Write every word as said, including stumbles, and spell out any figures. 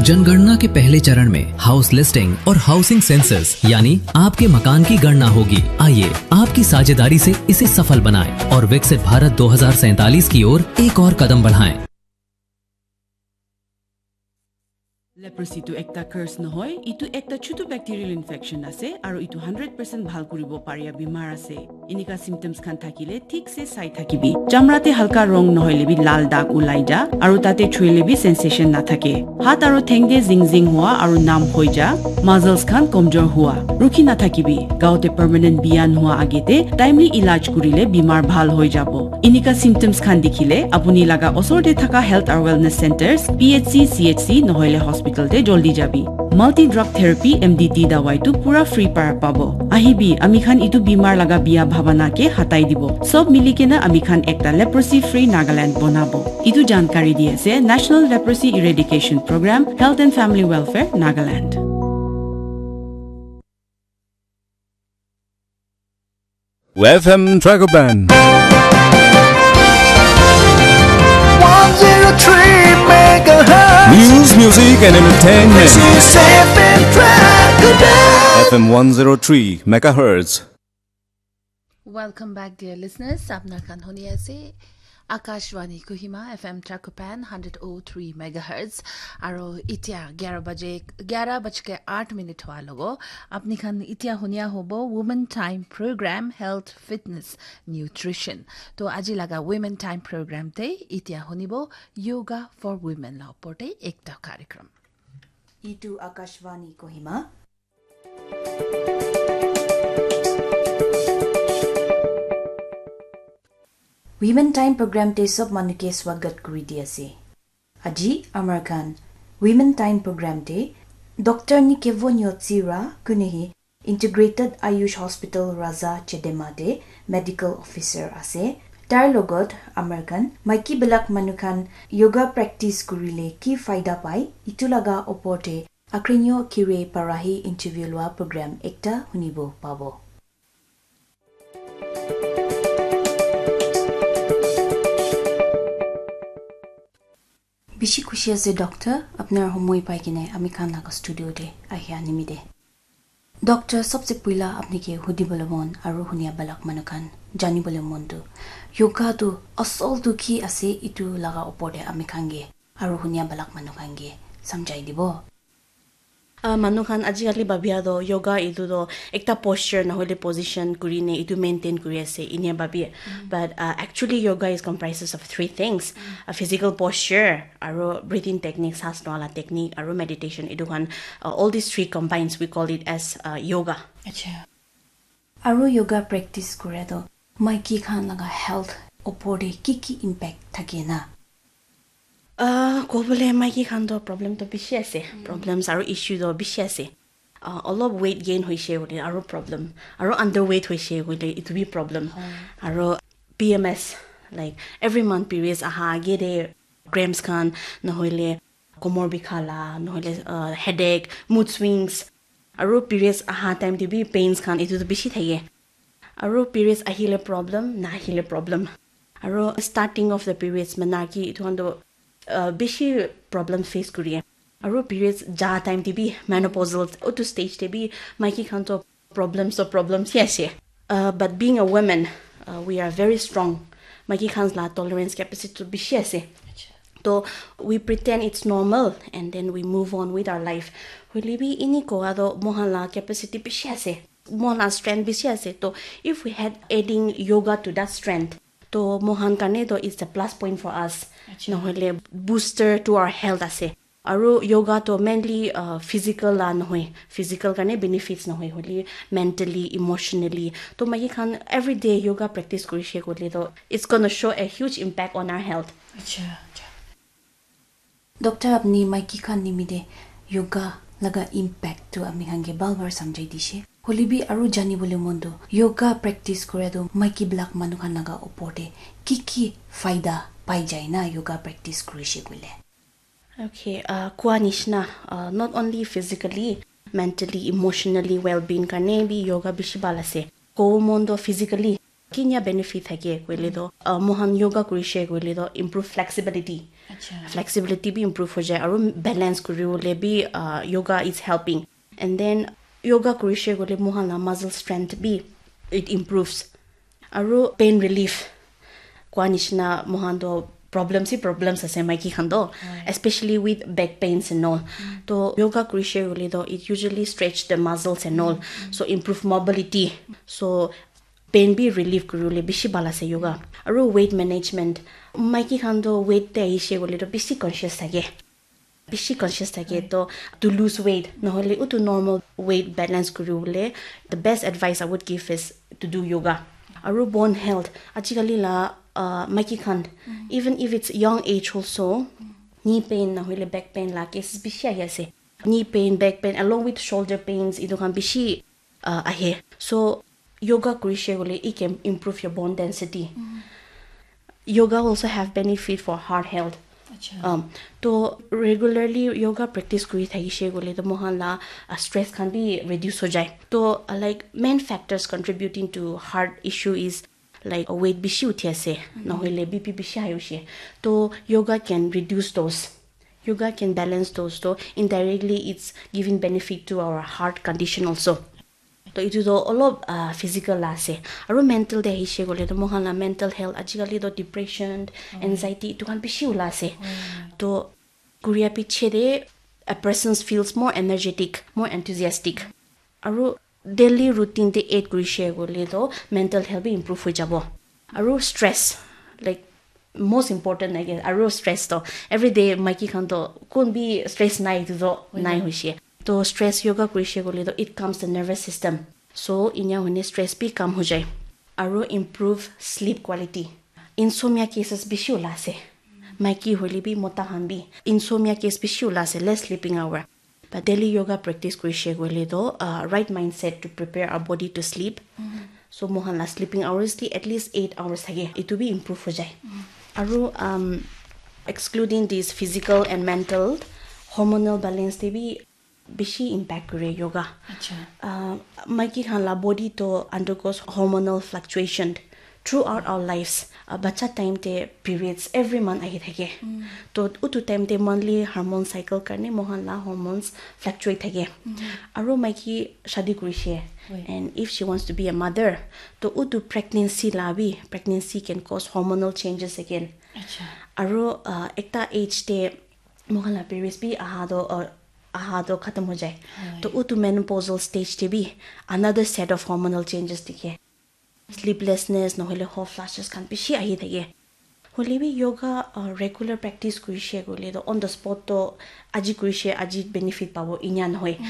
जनगणना के पहले चरण में हाउस लिस्टिंग और हाउसिंग सेंसस यानी आपके मकान की गणना होगी। आइए, आपकी साझेदारी से इसे सफल बनाएं और विकसित भारत दो हज़ार सैंतालीस की ओर एक और कदम बढ़ाएं। Leprosy tu ekta curse nohoi, itu ekta chutu bacterial infection ase, aru itu hundred percent bhal kuribo paria bimar ase. Enika symptoms khan thakile thik se sai thakibi. Chamra te halka rong nohoile bi lal dag ulai ja, aru tate chuile bi sensation nathake. Hat aru theng te zing zing hua aru numb hoi ja, muscles khan komjor hua. Rukhi nathakibi. Gaote permanent biyan hua agete timely ilaj kurile bimar bhal hoi jabo. Enika symptoms khan dikhile apuni laga osor te thaka health aru wellness centers, P H C, C H C nohoile hospital te joldi jabi. Multi drug therapy, M D T dawai tu pura free para pabo. Ahibi, ami khan itu bimar laga biya bhabana ke hatai dibo. Sob mili kena ami khan ekta leprosy free Nagaland bonabo. Itu jankari di ase National Leprosy Eradication Program, Health and Family Welfare, Nagaland. F M Tragopan. One zero three megahertz. News, music, and entertainment. This is F M Tragopan. F M one zero three megahertz. Welcome back, dear listeners. Apnar khan huni ase Akashvani Kohima, F M Tragopan, hundred oh three megahertz. Aro itia gyara baje, gyara baj ke aath minute hua logo. Apni khan itia hunia hobo Women Time Program, Health, Fitness, Nutrition. To aji laga Women Time Program te itia hunibo Yoga for Women la upor te ekta karikram. Itu Akashvani Kohima. Women Time Program te sob manu ke swagat kuri di ase. Aji amar khan Women Time Program te Doctor Nikevo Nyotsira kunehi Integrated Ayush Hospital Raza Chedema te medical officer ase. Tar logot amar khan maiki bilak manu khan yoga practice kurile ki faida pai, itu laga opor te Akrinyo Kire para hi interview lua program ekta hunibo pabo. Bishi khushi ase, Doctor, apnar homoi pai kene ami khan laga studio te ahi animide. Doctor, sabse puila apni ke hudibole mon aru hunia balak manu khan janibole mon tu, yoga tu asol tu ki ase, itu laga opor te ami khan ke aru hunia balak manu khan ke samjhai dibo. Ah, manu khan ajikali babia do yoga itu do ekta posture nahole position kuri ne itu maintain kuri ase inia babia. But uh, actually yoga is comprises of three things. A physical posture, aro breathing technique, saas loa la technique, aro meditation. Itu khan, uh, all these three combines, we call it as uh, yoga. Acha. Aro yoga practice kore to maiki khan laga health opor te ki ki impact thake na? Ah, kobole maiki khan to problem to bishi ase. Problems aro issue to bishi ase. Ah, olop weight gain hoise koile aro problem. Aro underweight hoise koile itu bi problem. Aro P M S, like, every month periods aha age de cramps khan, nohoile komor bikha la, nohoile, ah, headache, mood swings. Aro periods aha time te bi pains khan itu to bishi thake. Aro periods ahile problem, nahile problem. Aro starting of the periods mana ki itu khan to, uh, bishi problem face kuri. Aro periods ja time te bi menopausal utu stage te bi maiki khan to problems to problems hi ase. Uh, but being a woman, uh, we are very strong. Maiki khan la tolerance capacity to bishi ase. To we pretend it's normal and then we move on with our life. Hoile bi ini koa to mohan la capacity bishi ase. Mohan la strength bishi ase. To if we had adding yoga to that strength, to mohan karne to it's a plus point for us. Nohoile booster to our health ase. Aru yoga to mainly uh, physical la nohoi, physical karne benefits nohoi, hoile mentally, emotionally. To maiki khan everyday yoga practice kurishe koile to it's gonna show a huge impact on our health. Acha, acha. Doctor, apni maiki khan nimite yoga laga impact tu ami khan ke bal bar samjhai dishe. Hoile bi aru jani bole mon tu yoga practice kore tu maiki bilak manu khan laga opor te ki ki faida pai jai na yoga practice kurishe koile? Okay, uh, kua nishna, uh, not only physically, mentally, emotionally well-being karne bi yoga bishi bhal ase. Kobo mon to physically, kinya benefit thake koile to, uh, mohan yoga kurishe koile to improve flexibility. Acha. Flexibility bi improve ho jai aru balance kuribole bi, uh, yoga is helping. And then yoga kurishe koile mohan la muscle strength bi it improves. Aru pain relief kwa nishina mohan to problems hi problems ase maiki khan to, especially with back pains and all. To yoga kurishe koile to it usually stretch the muscles and all, so improve mobility. So pain bi relief kuribole bishi bhal ase yoga. Aru weight management, maiki khan to weight te ahishe koile to bishi conscious thake, bishi conscious thake to, to lose weight nohole utu normal weight balance kuribole, the best advice I would give is to do yoga. Aru bone health, ajikali la, uh, maiki khan, even if it's young age also, knee pain nohole back pain la cases bishi ahi ase. Knee pain, back pain along with shoulder pains itu khan bishi, uh, ahe. So yoga kurishe koile it can improve your bone density. Yoga also have benefit for heart health. Acha. Um, to regularly yoga practice kuri thakishe koile to mohan la, uh, stress khan bi reduce ho jai. To, uh, like, main factors contributing to heart issue is like weight bishi uthi ase, nohole B P bishi high hoise. To yoga can reduce those. Yoga can balance those. To indirectly it's giving benefit to our heart condition also. To itu to olop, uh, physical la ase. Aru mental te ahishe koile to mohan la mental health ajikali to depression, anxiety itu khan bishi ula ase. To kuria piche de a person feels more energetic, more enthusiastic. Aru daily routine te add kurishe koile to mental health bi improve hoi jabo. Aru stress, like, most important, I guess, aru stress to everyday maiki khan to kun bi stress nai itu to nai hoise. To stress yoga kurishe koile to it calms the nervous system. So inya hoine stress bi calm ho jai. Aru improve sleep quality. Insomnia cases bishi ula ase. Maiki hoile bi mota khan bi insomnia case bishi ula ase, less sleeping hour. But daily yoga practice kurishe koile to, uh, right mindset to prepare our body to sleep. So mohan la sleeping hours ti at least eight hours thake, itu bi improve ho jai. Aru, um, excluding this physical and mental, hormonal balance te bi bishi impact kure yoga. Acha. Uh, maiki khan la body to undergoes hormonal fluctuation throughout our lives. Uh, bacha time te periods every month ahi thake. To utu time te monthly hormone cycle karne mohan la hormones fluctuate thake. Aru maiki shadi kurishe, and if she wants to be a mother, to utu pregnancy la bi, pregnancy can cause hormonal changes again. Acha. Aru, uh, ekta age te mohan la periods bi aha to, uh, aha to khatam ho jai. To utu menopausal stage te bi another set of hormonal changes dikhe. Sleeplessness nohole hot flashes khan bishi ahi thake. Hoile bi yoga, uh, regular practice kurishe koile to on the spot to aji kurishe aji benefit pabo inya nohoi.